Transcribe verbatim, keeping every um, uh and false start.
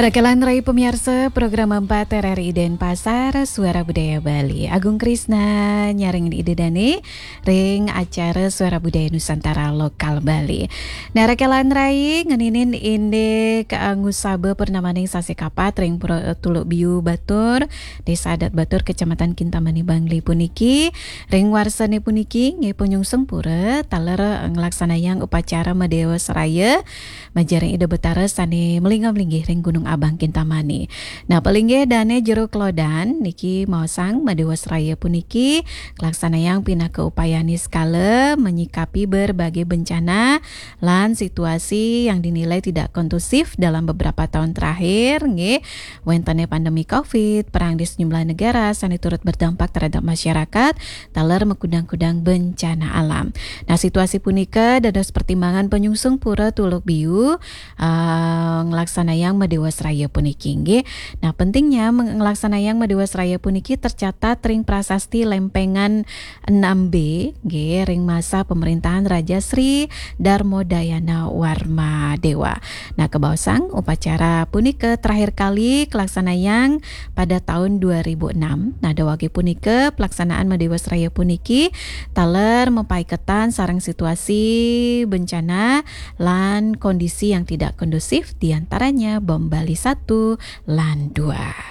Rekelan rai pemiarsa program empat R R I Denpasar, Suara Budaya Bali. Agung Krisna nyarengin Ida dane ring acara Suara Budaya Nusantara Lokal Bali. Nah, rekelan rai ngeninin indik, eh, ngusaba purnamaning sasih kapat ring Pura Tuluk Biu Batur, Desa Adat Batur, Kecamatan Kintamani, Bangli puniki. Ring warsane puniki nggih panyungsung pura taler nglaksanayang upacara Madewa Seraya majaring Ida Betara sane malinggih-malinggih ring Gunung Abang Kintamani. Nah, palinggih dane Jero Klodan niki maosang Madewa Seraya puniki kalaksanayang pinaka upayane sekala menyikapi berbagai bencana lan situasi yang dinilai tidak kondusif dalam beberapa tahun terakhir, nggih, wentene pandemi covid, perang di sejumlah negara sane turut berdampak terhadap masyarakat, taler makudang-kudang bencana alam. Nah, situasi punika dados pertimbangan panyungsung pura Tuluk Biu, eh, nglaksanayang Madewa Seraya puniki, nggih. Nah, pentingnya meng-, nglaksanayang Madewa Seraya puniki tercatat ring prasasti Lempengan enam B, nggih, ring masa pemerintahan Raja Sri Darmodayana Warma Dewa. Nah, kabaosang upacara punika terakhir kali kalaksanayang pada tahun dua ribu enam. Nah, dawagi punika, pelaksanaan Madewa Seraya puniki taler mapaiketan sareng situasi bencana lan kondisi yang tidak kondusif, diantaranya bom Bali satu lan dua.